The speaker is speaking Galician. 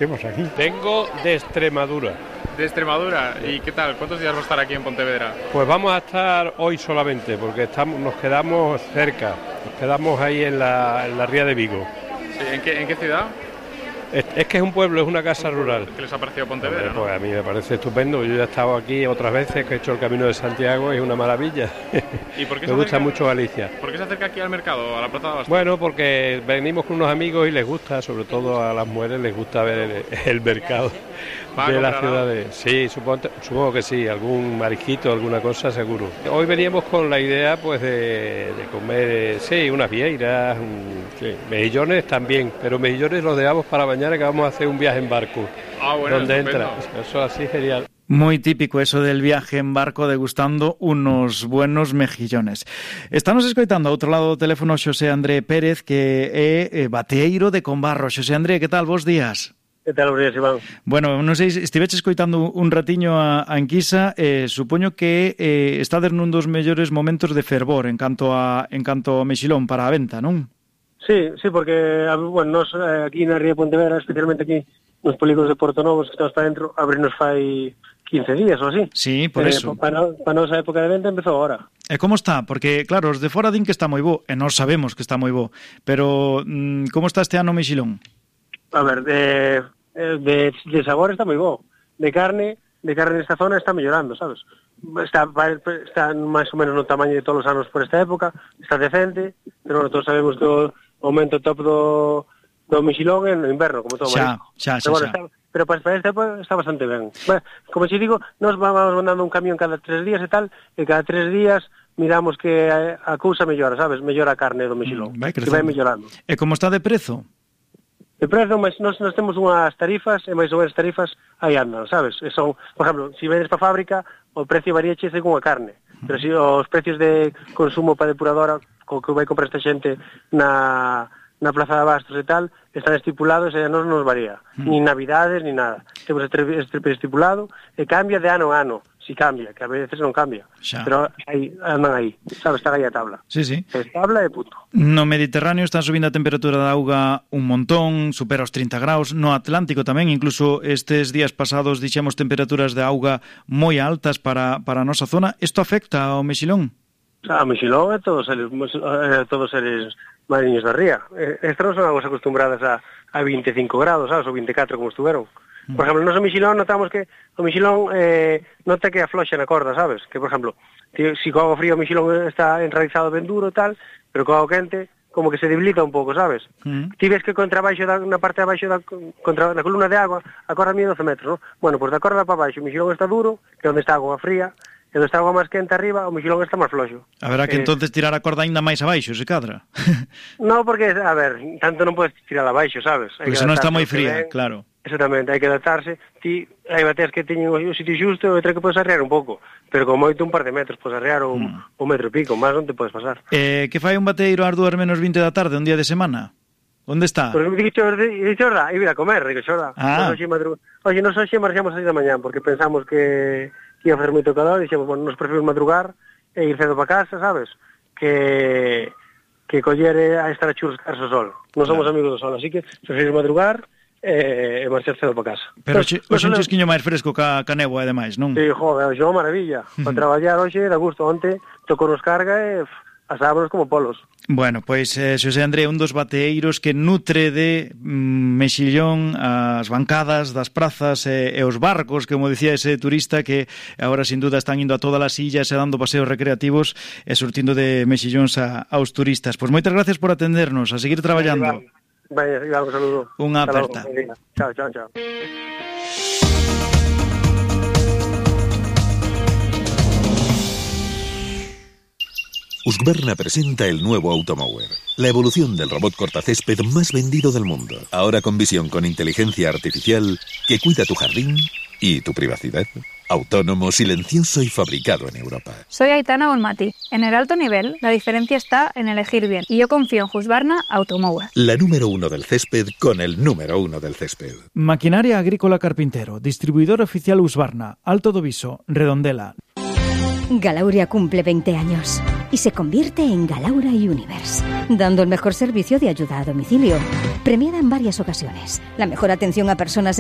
Estamos aquí. Vengo de Extremadura. ¿De Extremadura? ¿Y qué tal? ¿Cuántos días va a estar aquí en Pontevedra? Pues vamos a estar hoy solamente, porque nos quedamos cerca. Nos quedamos ahí en la ría de Vigo. Sí, ¿en qué ciudad? Es que es un pueblo, es una casa rural. ¿Qué les ha parecido Pontevedra? Pues a mí me parece estupendo. Yo ya he estado aquí otras veces, que he hecho el Camino de Santiago, es una maravilla. ¿Y por qué me gusta mucho Galicia. ¿Por qué se acerca aquí al mercado, a la Plaza de Abastos? Bueno, porque venimos con unos amigos y les gusta, sobre todo a las mujeres les gusta ver el mercado de la ciudad. Sí, supongo que sí, algún marisquito, alguna cosa seguro. Hoy veníamos con la idea pues de comer, sí, unas vieiras, mejillones también, pero mejillones los dejamos para mañana, que vamos a hacer un viaje en barco. Bueno, donde estupendo. entra, eso así genial. Muy típico eso del viaje en barco degustando unos buenos mejillones. Estamos escoitando ao outro lado do teléfono Xosé André Pérez, que é bateeiro de Combarro. Xosé André, que tal? Bos días. Que tal, bos días, Iván? Bueno, non sei, estiveches escoitando un ratiño a Anquisa, supoño que estades nun dos mellores momentos de fervor en canto ao mexilón para a venta, non? Sí, porque, bueno, nos aquí na ría de Pontevedra, especialmente aquí nos polígonos de Porto Novo, que estamos para dentro, abrirnos fai 15 días ou así. Sí, por eso. Para nosa época de venta empezou agora. E como está? Porque, claro, os de fora din que está moi bo, e nós sabemos que está moi bo, pero como está este ano o mexilón? A ver, de sabor está moi bo. De carne nesta zona está mellorando, sabes? Está máis ou menos no tamaño de todos os anos por esta época, está decente, pero todos sabemos que o aumento top do mexilón en inverno, como todo marisco. Pero para esta época está bastante ben. Bueno, como te digo, nos vamos mandando un camión cada 3 días e tal, e cada 3 días miramos que a cousa mellora, sabes? Mellora a carne do mexilón, que vai mellorando. E como está de prezo? De prezo, mas nós temos unhas tarifas, e máis ou menos tarifas aí andan, sabes? E son, por exemplo, se vendes para fábrica, o precio varíache según a carne, pero se os precios de consumo para depuradora, co que vai comprar esta xente na Plaza de Abastos e tal, están estipulados e non nos varía, ni navidades, ni nada. Temos este estipulado e cambia de ano a ano, si cambia, que a veces non cambia, pero andan aí, sabes, está aí a tabla. Sí. Es tabla e punto. No Mediterráneo está subindo a temperatura da auga un montón, supera os 30 graus, no Atlántico tamén, incluso estes días pasados dixemos temperaturas de auga moi altas para a nosa zona. Isto afecta ao mexilón? O mexilón é todos seres mariños da ría. Estas non son aguas acostumbradas a 25 graus, sabes, ou 24 como estuveron. Por exemplo, no mexilón notamos que o mexilón nota que afloxa na corda, sabes? Que, por exemplo, si co auga fría o mexilón está enraizado ben duro e tal, pero co auga quente como que se debilita un pouco, sabes? Ti ves que na parte de abaixo contra na columna de agua a corda mide 12 metros, non? Bueno, pois da corda para baixo o mexilón está duro, que é onde está a agua fría, e onde está a agua máis quente arriba, o mexilón está máis floxo. Haberá que entonces tirar a corda ainda máis abaixo, se cadra. No, porque, a ver, tanto non podes tirar abaixo, sabes? Porque se non está moi fría, claro. Exactamente, hai que adaptarse. Ti hai bateas que teñen o sitio xusto e outra que podes arrear un pouco, pero con moito un par de metros podes arrear un metro e pico, máis non te podes pasar. Que fai un bateiro ás 2:20 da tarde, un día de semana? Onde está? Pois me dixo, xorda, ir a comer, digo, xorda. Oxe, nos hoxe marxamos a 6 da mañán, porque pensamos que ia facer moito calor, e dixemos, bueno, nos preferimos madrugar e ir cedo para casa, sabes? Que coller a estar a churrascarse o sol. Non somos amigos do sol, así que preferimos madrugar e marchar cedo para casa. Pero hoxe un chisquiño máis fresco ca néboa e demais, non? Sí, joder, hoxe é unha maravilla. Para traballar hoxe da gusto. Onte tocou nos carga e asábanos como polos. Bueno, pois Xosé André, un dos bateeiros que nutre de mexillón as bancadas das prazas e os barcos, como dicía ese turista que agora sin duda están indo a todas as illas e dando paseos recreativos e surtindo de mexillóns aos turistas. Pois moitas gracias por atendernos, a seguir traballando. Vaya, un saludo. Unha aperta. Chao. Husqvarna presenta el nuevo Automower, la evolución del robot cortacésped más vendido del mundo. Ahora con visión con inteligencia artificial que cuida tu jardín y tu privacidad. Autónomo, silencioso y fabricado en Europa. Soy Aitana Bonmati. En el alto nivel, la diferencia está en elegir bien. Y yo confío en Husqvarna Automower. La número 1 del césped con el número 1 del césped. Maquinaria Agrícola Carpintero. Distribuidor oficial Husqvarna. Alto do Viso. Redondela. Galauria cumple 20 años. y se convierte en Galaura Universe, dando el mejor servicio de ayuda a domicilio. Premiada en varias ocasiones, la mejor atención a personas